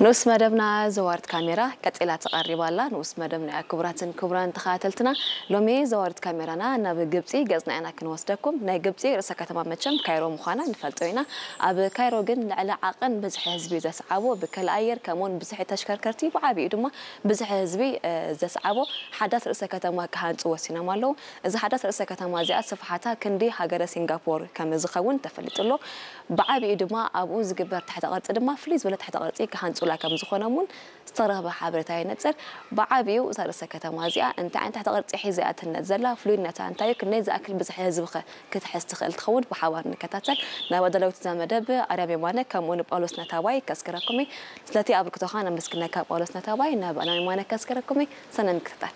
ንኡስ መደብና ዘዋርት ካሜራ ቀጺላ ተቐሪባ ኣላ። ንኡስ መደብና እያ። ክቡራትን ክቡራን ተኸታተልትና፣ ሎሚ ዘዋርት ካሜራና ናብ ግብጺ ገጽና ኢና ክንወስደኩም። ናይ ግብጺ ርእሰ ከተማ መቸም ካይሮ ምዃና ንፈልጦ ኢና። ኣብ ካይሮ ግን ልዕሊ ዓቐን ብዝሒ ህዝቢ ዘስዓቦ ብከል ኣየር ከምኡውን ብዝሒ ተሽከርከርቲ ብዓቢኡ ድማ ብዝሒ ህዝቢ፣ እ፣ ዘስዓቦ ሓዳስ ርእሰ ከተማ ክሃንጹ ወሲኖም ኣለዉ። እዚ ሓዳስ ርእሰ ከተማ እዚኣ ስፍሓታ ክንዲ ሃገረ ሲንጋፖር ከም ዝኸውን ተፈሊጡ ኣሎ። ብዓቢኡ ድማ ኣብኡ ዝግበር ትሕተ ቅርጺ ድማ ፍልይ ዝበለ ትሕተ ቅርጺ ክሃንጹላ ከም ዝኾኖም እውን ዝተረኽበ ሓበሬታ የነጽር። ብዓቢኡ እዛ ርእሰ ከተማ እዚኣ እንታይ ዓይነት ትሕተ ቅርጺ ሒዛ እያ ትህነጽ ዘላ? ፍሉይነታ እንታይ እዩ? ክንደይ ዝኣክል ብዝሒ ህዝቢ ኸ ክትሕዝ ትኽእል ትኸውን? ብሓባር ንከታተል። ናብ ኣዳለዊት እዛ መደብ ኣርያም የማነ ከምኡ ንጳውሎስ ነታባይ ከስክረኩም እየ። ስለቲ ኣበርክቶኻ ነመስግነካ ጳውሎስ ነታባይ። ናብ ኣርያም የማነ ከስክረኩም እየ። ሰናይ ምክትታል።